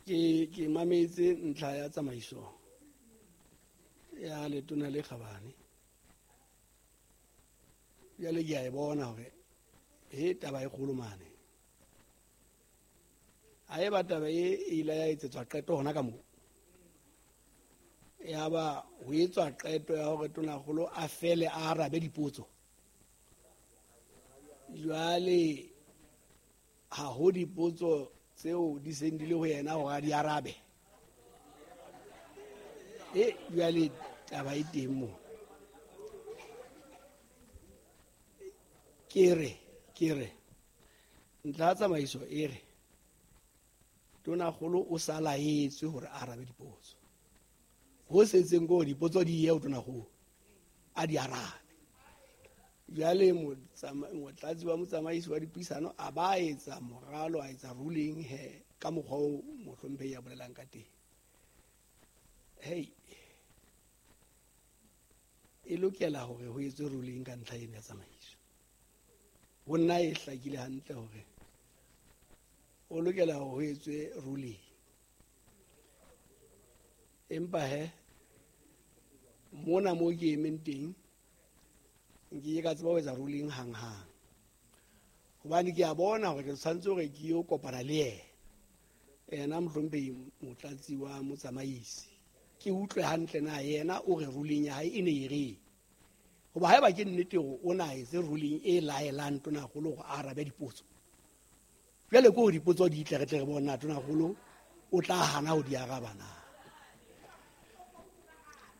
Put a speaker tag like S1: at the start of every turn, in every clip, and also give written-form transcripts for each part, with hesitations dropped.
S1: Ke mametse ntlha ya tsamaiso ya letona le kgabane. Jwale ke a e bona hore he taba e kgolo mane. Ha eba taba e ile ya etsetswa qeto hona ka moo. Ya ba ho etswa qeto ya hore tonakgolo a fele a arabe dipotso. Jwale ha ho dipotso tseo di seng di le ho yena hore a di arabe. E jwale taba e teng moo. Ke re ntlha ya tsamaiso e re tonakgolo o sa laetswe hore a arabe dipotso. Ho setseng ko dipotso di ye ho tonakgolo a di arabe. Jwale motlatsi wa motsamaisi wa dipuisano a ba etsa moralo, a etsa ruling he ka mokgwa o mohlomphehi ya bolelang ka teng. Hey, e lokela hore ho etswe ruling ka ntlha ena ya tsamaiso. Ho nna e hlakile hantle hore o lokela hore ho etswe ruling. Empa he mona mo ke emeng teng nke ka tseba ho etsa ruling hang-hang. Hobane ke a bona hore ke tshwanetse hore ke yo kopana le yena. Yena mohlomphehi motlatsi wa motsamaisi. Ke utlwe hantle na yena o re ruling ya hae e ne e reng. Hoba haeba ke nnete hore o na etse ruling e laelang tonakgolo hore a arabe dipotso. Jwale ke hore dipotso di tle re tle re bone na tonakgolo o tla hana ho di araba na.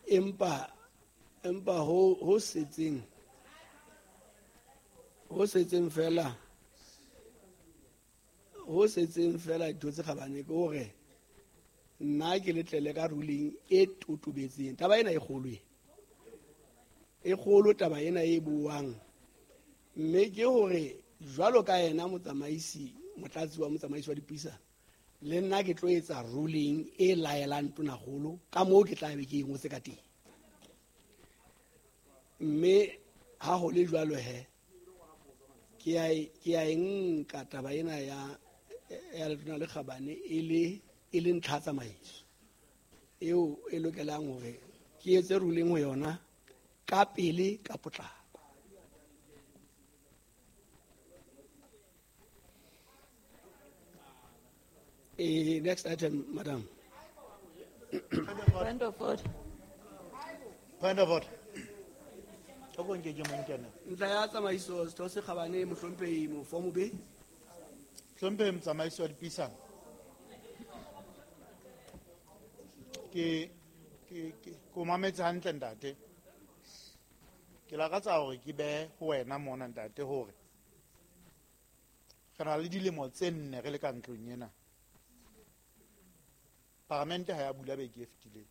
S1: Empa ho setseng fela dintho tse kgabane ke hore nna ke letlele ka ruling e totobetseng. Taba ena e kgolo e. E kgolo taba ena e buang. Mme ke hore jwalo ka yena motsamaisi, motlatsi wa motsamaisi wa dipuisano, le nna ke tlo etsa ruling e laelang tonakgolo ka moo ke tla be ke e ngotse ka teng. Mme ha ho le jwalo he ke a e nka taba ena ya letona le kgabane e le ntlha tsamaiso eo e lokelang hore ke etse ruling ho yona ka pele ka potlako. Next item, madam.
S2: Point of order.
S3: Point of order.
S1: Ntlha ya tsamaiso setho se kgabane mohlomphehi Mofomobe.
S3: Hlomphehi motsamaisi wa dipuisano. Ke mametse hantle ntate. Ke lakatsa hore ke be ho wena mona ntate hore re na le dilemo tse nne re le ka ntlong ena. Paramente ha ya bula beke e fetileng.